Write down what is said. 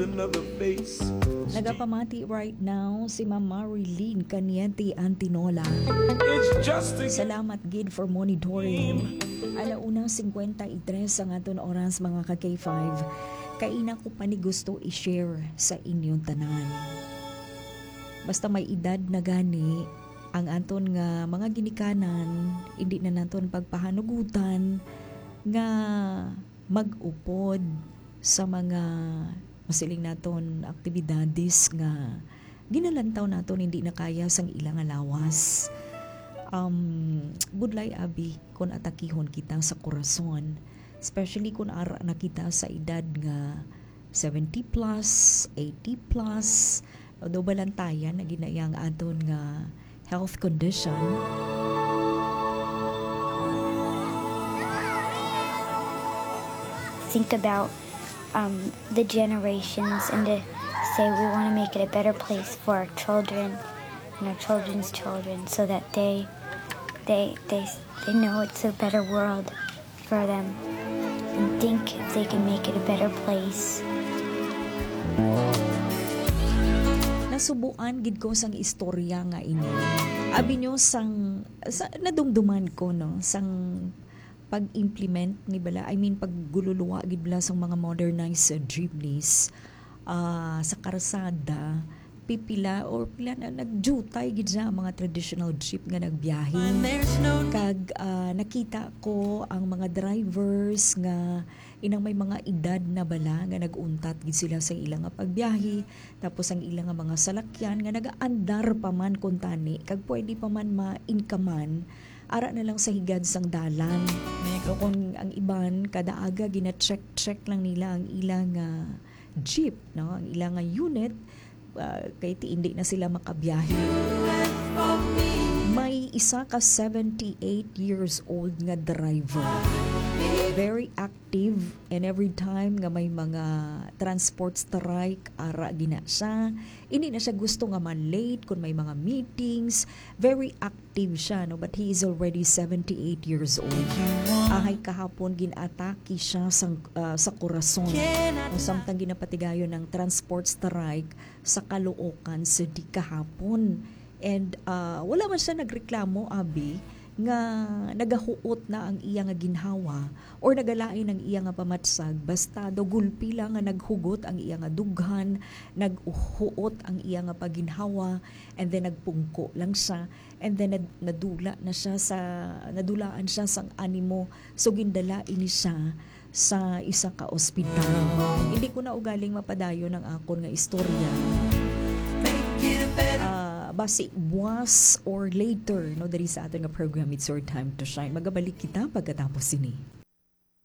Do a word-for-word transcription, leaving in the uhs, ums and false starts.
Another face. Nagapamati right now si Ma'am Marilyn Caniente Antinola. It's just a Salamat gid for monitoring. Alauna cincuenta y tres ang aton oras, mga ka K five. Kaina ko pa ni gusto i-share sa inyong tanan. Basta may edad na gani ang aton nga mga ginikanan, hindi na naton pagpahanugutan nga mag-upod sa mga masiling naton aktibidades nga ginalantaw naton hindi na kaya sang ila nga lawas. Um, budlay abi kon atakihon kita sa korason, especially kon ara na kita sa edad nga seventy plus, eighty plus, although balantayan na ginayang aton nga health condition. Think about um, the generations and to say we want to make it a better place for our children and our children's children, so that they they they they know it's a better world for them and think if they can make it a better place. Nasubuan gid ko sang istorya nga ini. Abi nyo sang sa, nadumduman ko, no, sang pag-implement ni bala, I mean, paggululuwa gid bala sang mga modernized, uh, jeepneys, ah, sa karsada, pipila or pila na nagjutay gid sa mga traditional jeep nga nagbiyahe. Kag, ah, nakita ko ang mga drivers nga inang may mga edad na bala nga nag-untat gid sila sa ila nga pagbiyahe, tapos ang ila nga mga salakyan nga nagaandar pa man kuntani kag pwede pa man ma-inkaman ara na lang sa higad sang dalan. So, kung ang iban, kada aga gina-check-check lang nila ang ila nga jeep, no, ang ila nga unit, ah, kay ti hindi na sila makabiyahe. May isa ka seventy-eight years old nga driver. Very active, and every time nga may mga transport strike, ara gina siya. Hindi na siya gusto nga ma-late kung may mga meetings. Very active siya, no? But he is already seventy-eight years old. Ahay kahapon, gin-atake siya sang, ah, sa korason. Ang samtang ginapatigayon ng transport strike sa Caloocan City kahapon. And, ah, wala man siya nagreklamo, abi, nga nagahuot na ang iya nga ginhawa or nagalain ang iya nga pamatsag, basta daw gulpi lang nga naghugot ang iya nga dughan, naghuot ang iya nga paginhawa, and then nagpungko lang siya, and then nad- nadula na siya sa, nadulaan siya sang animo, so gindala ini siya sa isa ka ospital. Hindi ko na ugaling mapadayon ang akon nga istorya. Ah, basi buwas or later, no, diri sa aton nga program, It's Your Time to Shine. Magabalik kita pagkatapos sini.